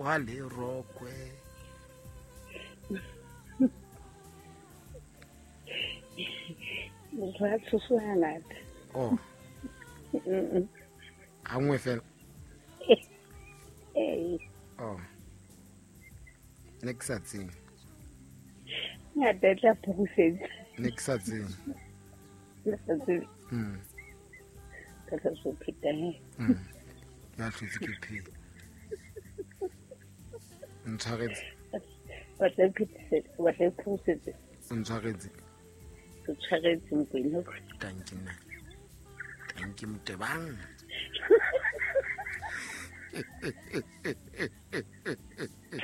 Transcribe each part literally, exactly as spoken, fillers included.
O ha le rokwe. Motho a tshoswa hangata. Oh. Ha nngwe fela. Eh. Oh. Ne ke sa tsebe. Ngata e tla phurusetsa. Ne ke sa tsebe. Ne sa tsebe. Mm. Ka tla so pheta he. Mm. Ya hlotse ke phela. Ntshwaretse. Wa tla phetisetsa, wa tla phurusetsa. Ntshwaretse. Ke tshwaretse Mokwena. Tanki nna. Tanki Motebang.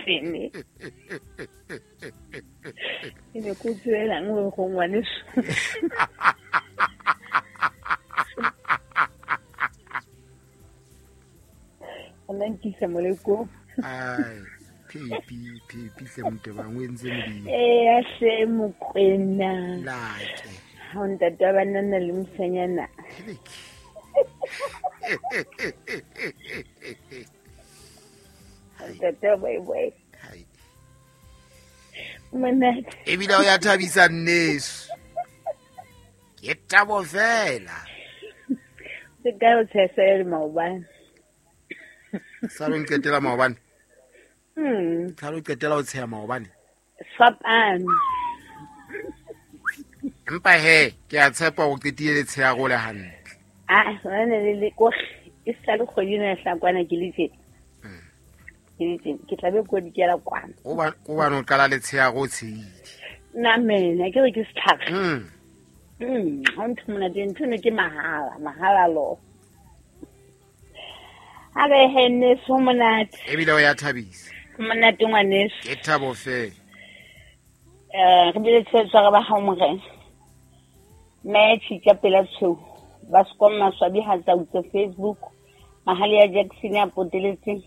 Sene. Ke ne ko tswelang hore go ngwaneso. Nna nkisa moleko. Ai, Phepi, Phepi hle Motebang o entse modimo. Eh, a hle Mokwena. Lake. Ha o ntate wa banana le mosanyana. Ntate wa boy boy. Hai. Monate. Ebile o ya thabisa nneso. Ke thabo fela. Se ka o tshesa le maobane. Sa lo nqetela maobane. Mm. Sa lo qetela o tsheha maobane. Fapane. Empa he, ke a tshepa o qetile le tsheha go le hantle. Ah, hona le le ko e sa le kgwedi ena ya Hlakwana ke le tje. Mm. Ke le tje, ke tla be ko dikela kwana. O ba o ba no qala le tsheha go tshehile. Nna mena ke re ke setlhare. Mm. Mm, ha ntho monate ntho ne ke mahala, mahala lo. Ha be he nneso monate. Ebile o ya thabisa. Monate ngwaneso. Ke thabo fela. Eh, re bile tshwetsa ba ha morena. Mme tshitja pela tshweu. Ba sekoma maswabi ha tsa utse Facebook. Mahali ya Jackson ya poteletse.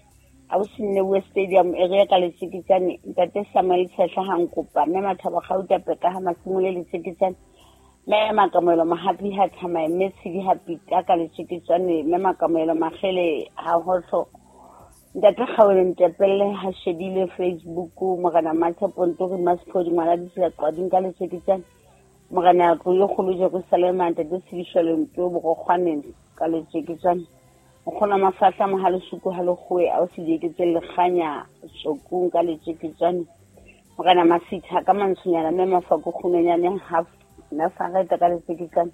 A o sinne we stadium area ka letsikitsane. Ntate Samuel Tshehla ha nkopa. Mme Mathabo Gauta peka ha masimole letsikitsane. Mme Makamelo Mahapi ha thamae mme Tshidi ha pita ka letsikitsane. Mme Makamelo Magele ha hotlo. Ntate Kgaole Ntepelle ha shebile Facebook. Morena Matshepo Ntori Masphodi ngwana ditsela qwading ka letsikitsane. Morena Tlo kgolo Jerusalema ntate Tshedisho Nto Borokgwaneng ka letsikitsane. Nkgono Mafahla mohale suku ha lekgowe a o se dieketse lekganya tsokong ka letsikitsane. Morena Masitha ka mantshonyana mme Mafako kgumenyane ha na fareta ka letsikitsane.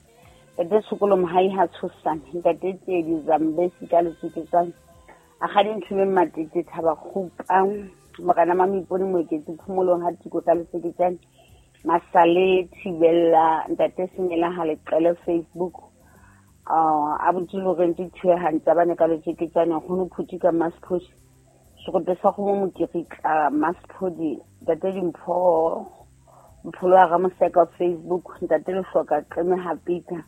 Ntate Tshokolo Mohai ha tshosane. Ntate Tsiedi Zambesi ka letsikitsane. A kgadi Nthume Matete Thaba Kgupa. Morena Mamipone Moeketsi Phomolong ha Tiko ka letsikitsane. Masale Thibella ntate Semela ha leqele Facebook. Ah, a botse Lorentse Thuehang tsa bane ka letsikitsane nkgono Phuti ka Masphodi. Sekope sa kgomo Mokirika Masphodi ntate Dimpho Mpholo wa Ramoseka Facebook ntate Lehloka Qeme ha Peter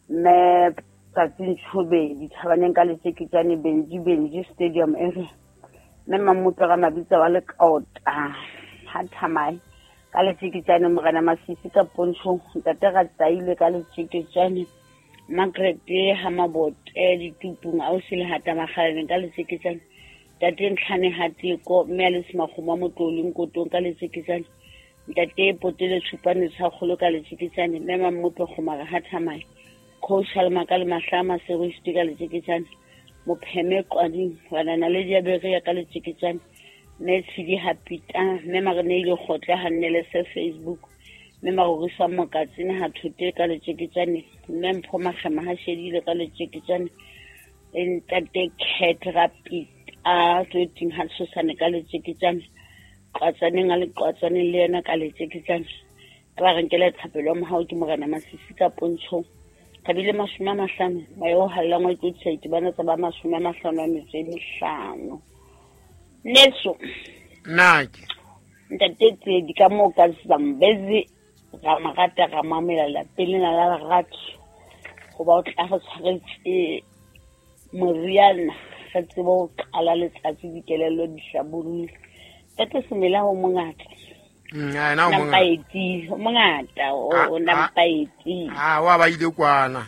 mme Tsatsi Ntshobe dithabaneng ka letsikitsane Benji Benji Stadium area. Mme Mamopera Mabitsa wa Lekaota ha thamae ka letsikitsane Morena Masisi ka Pontsho ntate Ratsaile ka letsikitsane Margaret ha Mabote ditupung a o se le hata makgaleng ka letsikitsane ntate Ntlhane ha Teko mme a le Semakgomo Motloleng Kotong ka letsikitsane ntate Potele Tshupane Tshakgolo ka letsikitsane mme Mammope Kgomara ha thamae Coach Halma ka le Mahlama Seroiste ka letsikitsane Mopheme Qwading banana le Diaberia ka letsikitsane mme Tshidi ha Pita mme Mareneile Kgotla ha nnele se Facebook mme Marorisa Mokatsene ha Thote ka letsikitsane mme Mpho Makgema ha Shedile ka letsikitsane ntate Cat Rapita tswetseng ha Tshosane ka letsikitsane Qwatsaneng a le Qwatsaneng le yena ka letsikitsane ba re nkele thapelo mohao ke Morena Masisi ka Pontshong kabile mashome a mahlano ba yo hallang wa tlotsha itibana tsa ba mashome a mahlano a metso e mehlano. Neso nake ntate Tsiedi ka moo ka Zambezi ra marata ra mamela lapeng lena la lerato hoba o tla re tshwaretse moriana re tsebe ho qala letsatsi dikelello di hlabollohile. Ntate Semela o mongata. Mm, a na o mongata. Nampaeti, o mongata o nampaeti. Ah, wa ba ile kwana.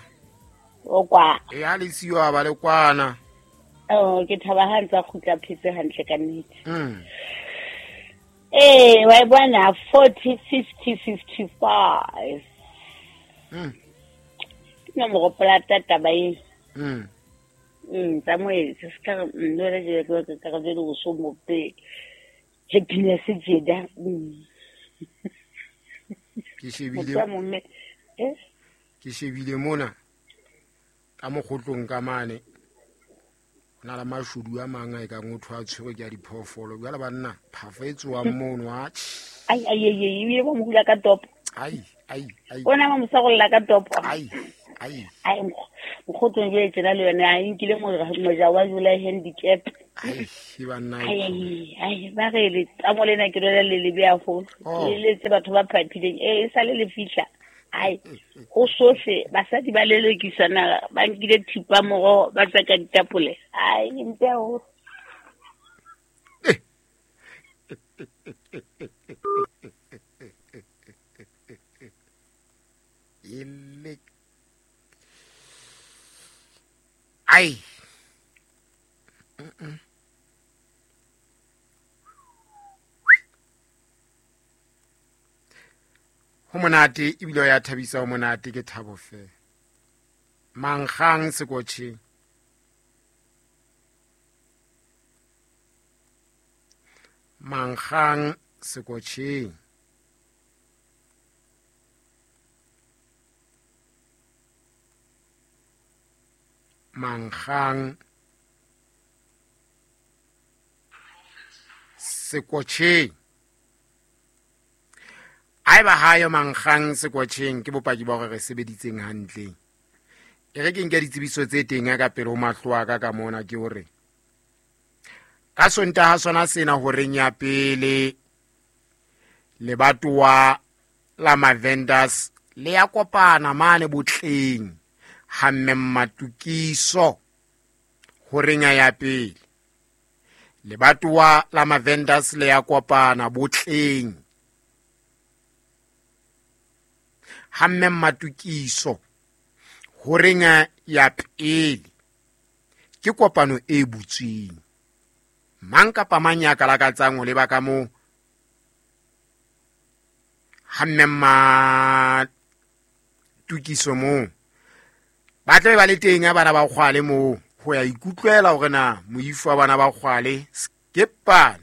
O kwa. E ha le siyo ba le kwana. Oh, ke thaba ha ntse a kgutla phetse hantle ka nnete. Mm. Eh, wa e bona forty fifty fifty-five. Mm. Ke nomoro plata taba e. Mm. Mm, tsa moetsi se ka nno le je ke ka re le so mo pe. Happiness jeda. Mm. Ke shebile. Motho a momme. Eh? Ke shebile mona ka mokgotlong ka mane. Ho na le mashodu a mang a e kang o thwa tshwerwe ke a diphoofolo. Jwale banna, phafo e tswang mono, atjhe. Ai, ai, ai, ai, ebile ba mo hula ka topo. Ai, ai, ai. Ona ba mo sarolla ka topo. Ai, ai. Ai, mokgo-, mokgotlong jwale tjena le yona, a nkile mo-, moja wa July handicap. Ai, e banna e Ai, ai, ai, ba re le tamo lena ke lona le lebe haholo. Oh. Le letse batho ba phaphileng. Eh, e sale le fihla. Ai, ho sohle basadi ba lelekisana, ba nkile thipa moroho, ba tswa ka ditapole. Ai, ke mpe haholo. Ele. Ai. Mm-mm. Ho monate ebile o ya thabisa, ho monate ke thabo feela. Mankgang sekotjheng. Mankgang sekotjheng. Mankgang sekotjheng. Haeba hayo mankgang sekotjheng ke bopaki ba hore re sebeditseng hantle. E re ke nke ditsebiso tse teng ka pele ho mahlo a ka ka mona ke hore ka Sontaha sona sena horeng ya pele lebatowa la Mavendors le ya kopana mane botleng ha mme Mmatokiso horeng ya pele. Lebatowa la Mavendors le ya kopana botleng ha mme Mmatokiso horeng ya pele. Ke kopano e butsweng. Mang kapa mang ya ka lakatsang ho leba ka moo ha mme Mmatokiso moo, ba tlabe ba le teng ha bana ba kgwale moo ho ya ikutlwela hore na moifo wa bana ba kgwale skepane.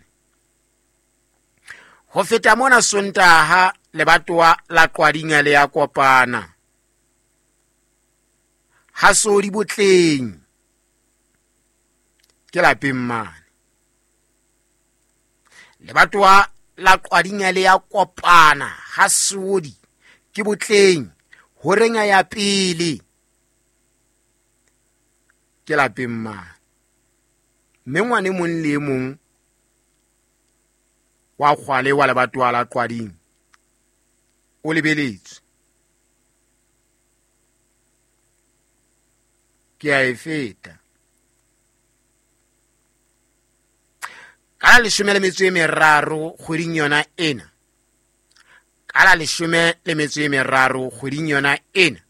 Ho feta mona Sontaha lebatowa la Qwadinga le ya kopana ha sodi botleng ke lapeng mane. Lebatowa la Qwadinga le ya kopana ha sodi ke botleng horeng ya pele ke lapeng mane. Mme ngwane mong le mong wa kgwale wa lebatowa la Qwading o lebeletswe. Ke a e feta. Ka la leshome le metso e meraro kgweding yona ena. Ka la leshome le metso e meraro kgweding yona ena.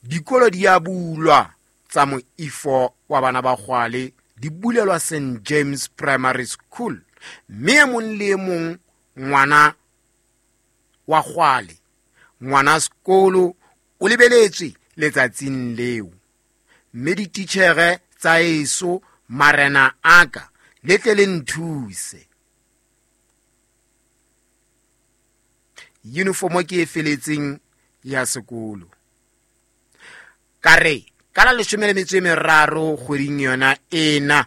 Dikolo di a bulwa tsa moifo wa bana ba kgwale, di bulelwa Saint James Primary School. Mme e mong le e mong ngwana wa kgwale, ngwana sekolo o lebeletswe letsatsing leo. Mme dititjhere tsa eso, marena a ka, le tle le nthuse. Uniform ke e feletseng ya sekolo. Ka re ka la leshome le metso e meraro kgweding yona ena,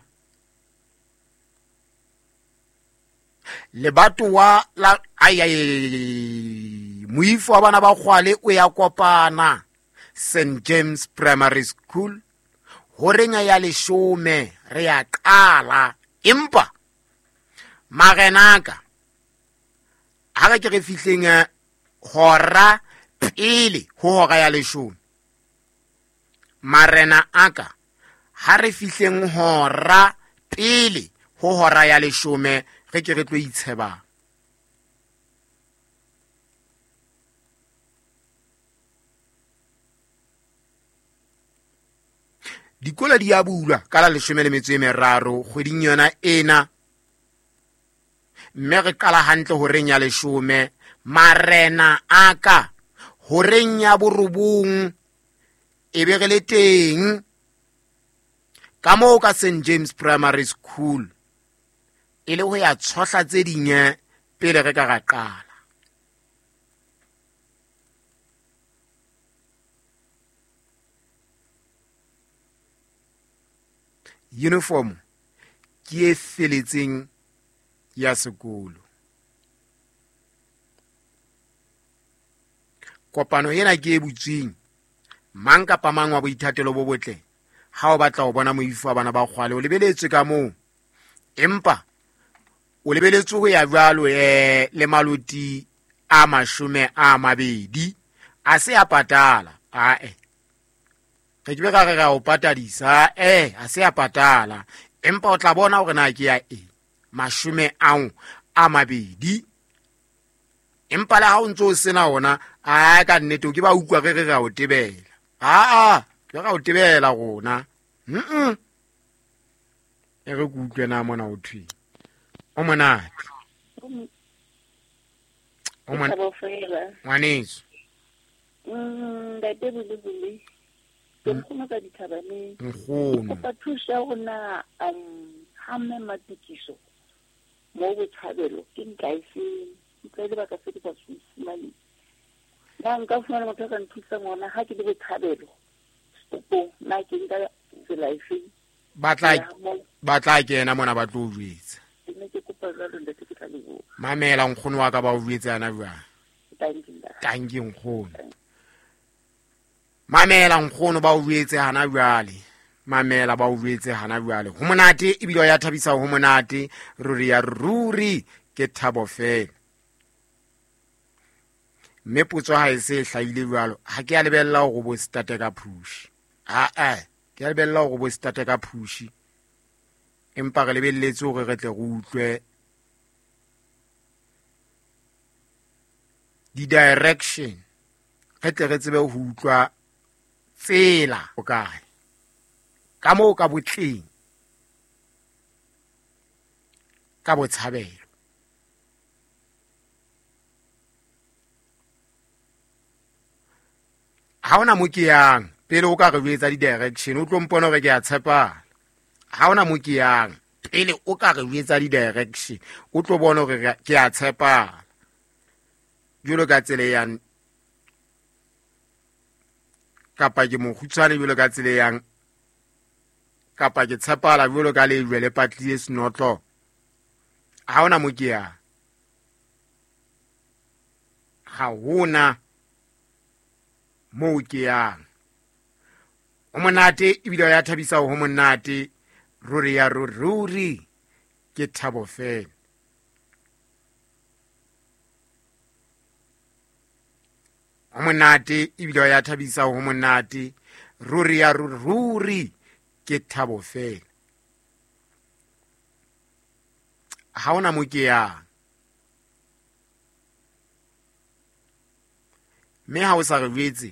lebatowa la ai, ai, ai, moifo wa bana ba kgwale o ya kopana Saint James Primary School horeng ya leshome re ya qala. Empa marenaka ha re ke re fihleng hora pele ho hora ya leshome. Marena aka ha re fihleng hora pele ho hora ya leshome re ke re tlo itsheba. Dikolo di a bulwa ka la leshome le metso e meraro kgweding yona ena, mme re qala hantle horeng ya leshome. Marena a ka horeng ya borobong e be re le teng ka moo ka Saint James Primary School, e le ho ya tshohla tse ding pele re ka ra qala. Uniform ke e feletseng ya sekolo. Kopano ena ke e butsweng mang kapa mang wa boithatelo bo botle. Ha o batla ho bona moifo wa bana ba kgwale, o lebeletswe ka moo, empa o lebeletswe ho ya jwalo eh le maloti a mashome a mabedi a se a patala. Ae, re ke be ka re ra o patadisa, eh a se a patala, empa o tla bona hore na ke ya eng mashome ao a mabedi. Empa le ha o ntso o sena ona, a ka nnete o ke ba utlwa re re ra o tebela. Aa, ke ra o tebela rona. Mm. E re ke utlwe na mona o thwe. O monate. O monate. Ngwaneso. Mm, ntate Bulebule. Ke nkgono ka dithabaneng. Nkgono. Kopa thuso ya rona um ha mme Matikiso mo Botshabelo ke ntla e feng? Ke lebaka se ke sa se fumane. Na nka fumana motho a ka nthusang hona ha ke le Botshabelo stopong, na ke nka tsela e feng? Ba tla ba tla kena mona ba tlo jwetsa. Ke ne ke kopa jwalo ntate, ke tla leboha. Mamela nkgono wa ka ba o jwetsa yana jwang. Thank you. Thank you nkgono. Mamela nkgono ba o jwetse hana jwale. Mamela ba o jwetse hana jwale. Ho monate ebile ya thabisa, ho monate ruri ya ruri ke thabo fela. Mme potso ha e se hlahile jwalo, ha ke a lebella hore bo starte ka push. A a ke a lebella hore bo starte ka push, empa re lebelletse hore re tle re utlwe di-direction, re tle re tsebe ho utlwa tsela o kae ka moo ka botleng ka Botshabelo. Ha hona mo ke yang pele o ka re jwetsa di-direction, o tlo mpona hore ke a tshepala. Ha hona mo ke yang pele o ka re jwetsa di-direction, o tlo bona hore ke a tshepala. Jwalo ka tsela yang kapa ke mokgutshwane jwalo ka tsela yang kapa ke tshepala jwalo ka lejwe le patlile senotlo. Ha hona mo ke yang, ha hona moo ke yang. O monate ebile ya thabisa, ho monate ruri ya ruri ke thabo fela. O monate ebile ya thabisa, ho monate ruri ya ruri ke thabo fela. Ha hona mo ke yang. Mme ha o sa re jwetse,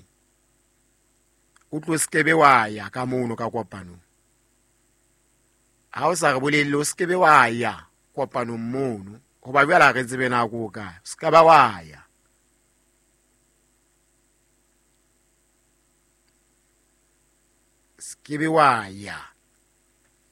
o tlo skebe wa ya ka mono ka kopanong. Ha o sa re bolelle, o skebe wa ya kopanong mono, hoba jwale ha re tsebe na ko kae. O ska ba wa ya. Skebe wa ya.